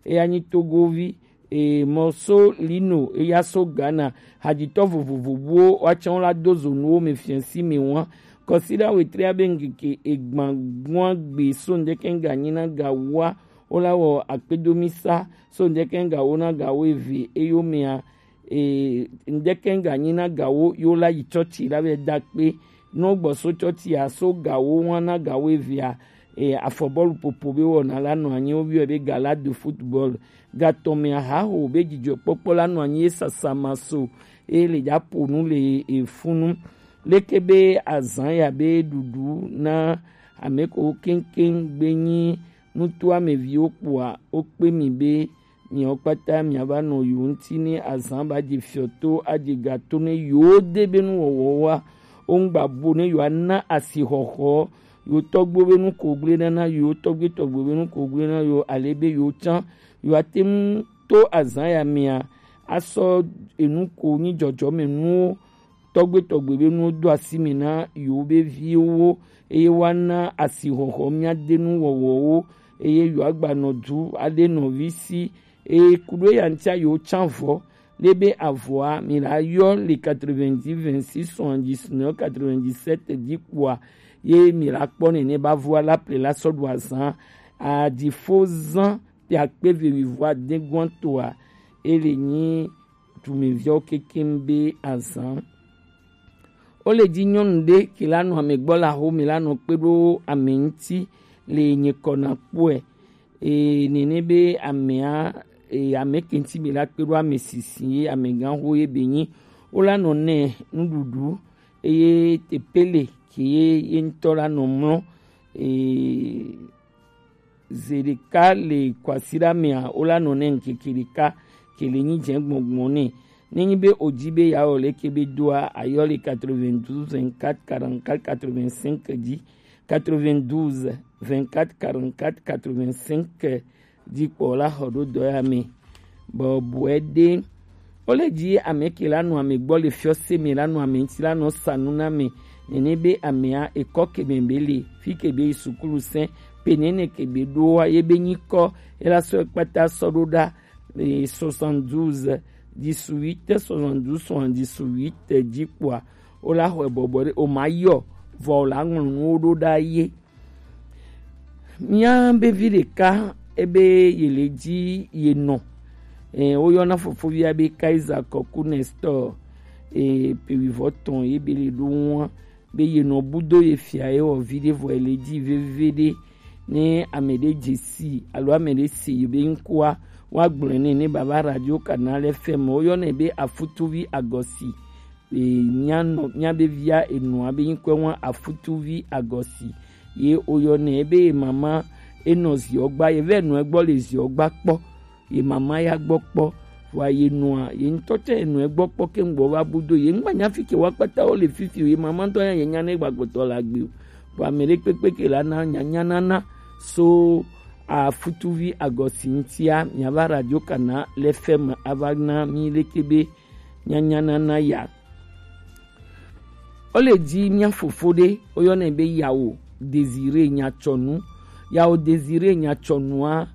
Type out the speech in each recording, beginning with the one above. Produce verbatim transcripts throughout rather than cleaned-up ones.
eya nyi Togovi, e, Morceau Lino, eya so Ghana, hajitɔ vovovo buwo, woatsã wo la do zo nuwo me fiasi me wa. Kɔsiɖa wetri abe ŋkeke egban gua gbe so ŋdɛkɛ ŋga nyi na ga wa, wo la wɔ akpedomisa so ŋdɛkɛ ŋga wo na ga wo eve eyo mea, e, ŋdɛkɛ ŋga nyi na ga wo yo la yi tsɔtsi la be da kpe. No gbɔ so tsɔtsi a so ga wo wa na ga wo evea, e, afɔbɔlu popo be wɔna la nɔ anyi wo bi be gala de football. Gatɔmɛ ahaho be dzidzɔkpɔkpɔ la nɔ anyi esasama so, e le dza po nu le efunu. Leke be azã ya be ɖuɖu na ame ko keŋkeŋ gbe nyi nutu ameviwo kpoa, wokpe mi be miawo kpata miava nɔ yo ŋuti ne azã ba dze fiɔto adze gato ne yo de be nuwɔwɔ wa. Wo ŋgba bo ne yo ana asixɔxɔ yo tɔgbo be nu ko gble nana yo tɔgbe tɔgbo be nu ko gble na yo ale be yo tsã yo ate ŋu to azã ya mea asɔ enu ko nyi dzɔdzɔme nuwo tɔgbe tɔgbe be nuwo do asi me na yewo be viwo, eye woana asixɔxɔ míade nu wɔwɔwo, eye yewoagbanɔ du aɖe nɔvi si, eye kuɖo eya ŋutia yewo tsã vɔ. Ne be avɔa, mi la yɔ le quatre-vingt-dix, vingt-six, soixante-dix-neuf, quatre-vingt-dix-sept dzi kpoa, ye mi la kpɔ nene ba vɔa la ple la sɔ ɖu azã. Adifo zã te akpe ve mi vɔa de guan toa, ele nyi dumeviawo kekem be azã. Wo le dzi nyɔnu ɖe ke la nɔ ame gbɔ le axome la nɔ kpe ɖo ame ŋuti le nye kɔ na kpɔe. Eye nene be amea, eye ame ke ŋuti be la kpe ɖo ame sisi ye amegã ho ye be nyi. Wo la nɔ nɛ nuɖuɖu eye tepele ke ye ye ŋutɔ la nɔ mlɔ. Eye Zeɖeka le kwasiɖa mea, wo la nɔ nɛ ŋkeke ɖeka ke le nyi dze gbɔngbɔn nɛ. Ne nyi be o dzi be ya wɔ leke be doa, ayɔ le quatre-vingt-douze, vingt-quatre, quarante-quatre, quatre-vingt-cinq dzi, quatre-vingt-douze, vingt-quatre, quarante-quatre, quatre-vingt-cinq dzi kpɔ la xɔ ɖo dɔ ya me. Bɔbɔe ɖe. Wo le dzi ame ke la nɔ ame gbɔ le fiɔse me la nɔ ame ŋuti la nɔ sa nu na me. Nene be amea ekɔ ke me be le fi ke be yi sukulu sɛ pe nene ke be ɖo wa ye be nyi kɔ ye la sɔ kpata sɔ ɖo ɖa, eh, soixante-douze, dix-huit, soixante-douze, soixante-dix-huit dzi kpoa, wo la xɔe bɔbɔ ɖe o ma yɔ vɔ o la ŋlɔ nuwo ɖo ɖa ye. Mía be vi ɖeka ebe ye le dzi ye nɔ. Eh, woyɔna fofovia be Kaiser Kɔku Nestor. Eh, pe wivɔ tɔn ye be le ɖo ŋua be ye nɔ budo ye fia ye wɔ vi ɖe vɔ ye le dzi veve ɖe. Ne ame ɖe dze si alo ame ɖe se ye be ŋkua, woagblɔe nɛ ne baba Radio Canal F M, woyɔnɛ be Afutuvi Agɔsi. E, mía nɔ, mía be via enɔa be ŋkɔe ŋua Afutuvi Agɔsi. Ye woyɔnɛ be ye mama enɔ ziɔ gba, ye vɛ nɔ egbɔ le ziɔ gba kpɔ. Ye mama ya gbɔ kpɔ. Vɔa ye nɔa, ye ŋutɔ tsɛ ye nɔ egbɔ kpɔ ke ŋgbɔ va bu do. Ye ŋgba nya fi ke wa kpata wo le fifi o. Ye mama ŋutɔ ya ye nya ne gbagbɔtɔ la gbe o. Vɔa ame ɖe kpekpe ke la na nya nya nana so Afutuvi Agɔsi ŋutia, mía va Radio Canal F M ava na mí leke be nyanyanana ya. Wo le dzi mía fofo ɖe, woyɔnɛ be Yawo Désiré Nyatsɔnu. Yawo Désiré Nyatsɔnua,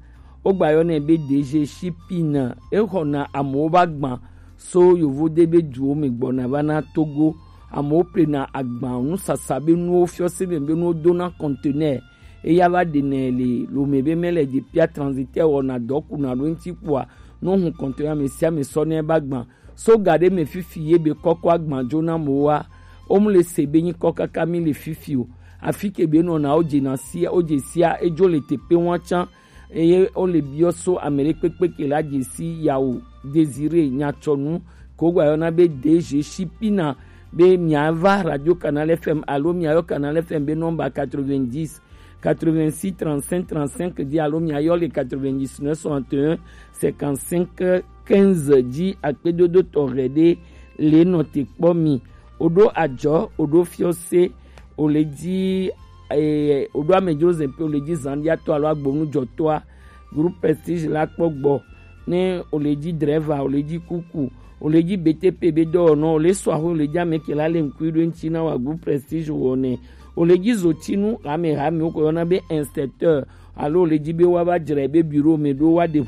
wogba yɔnɛ be D G Shipina. Exɔna amewo be agban so yovo de be duwo me gbɔna va na Togo. Amewo plena agban, nusasa be nuwo, fiɔse me be nuwo dona conteneur. Eya va ɖenɛ le lome be mele dze pia transitaire wɔna dɔ kuna ɖo ŋuti kpɔa, no hun kɔntɔn ya ame sia ame sɔ ne ba gban. So ga ɖe me fifi ye be kɔkɔ agban dzo na mo wa. O mu le se be nyi kɔ kaka mi le fifi o. Afi ke be nɔna o dze na sia, o dze sia, edzo le tepe wa tsan. Eye o le biɔ so ame ɖe kpekpe ke la dze si Yawo Désiré Nyatsɔnu ko gba yɔna be D G Shipina be mia va Radio Canal F M alo mia yɔ Canal F M be nɔmba quatre-vingt-dix, quatre-vingt-six, trente-cinq, trente-cinq dzi alo mia yɔ le quatre-vingt-dix-neuf, soixante et un, cinquante-cinq, quinze dzi. Akpedodo tɔxɛ ɖe le nɔ te kpɔ mi. O ɖo adzɔ, o ɖo fiɔse, o le dzi, eh, o ɖo amedzro zɛn pe, o le dzi zandiatɔ alo agbonujɔtɔa, Groupe Prestige la kpɔ gbɔ. Ne o le dzi drɛva, o le dzi kuku, o le dzi B T P be dɔwɔnɔ, o le sɔ aho, o le dzi ame ke la le ŋkui ɖo ŋuti na wa Groupe Prestige wɔnɛ, o le dzi zotinu hamehame wo ko yɔna be inspecteur, alo o le dzi be wa va dzra be bureau me ɖo wa ɖe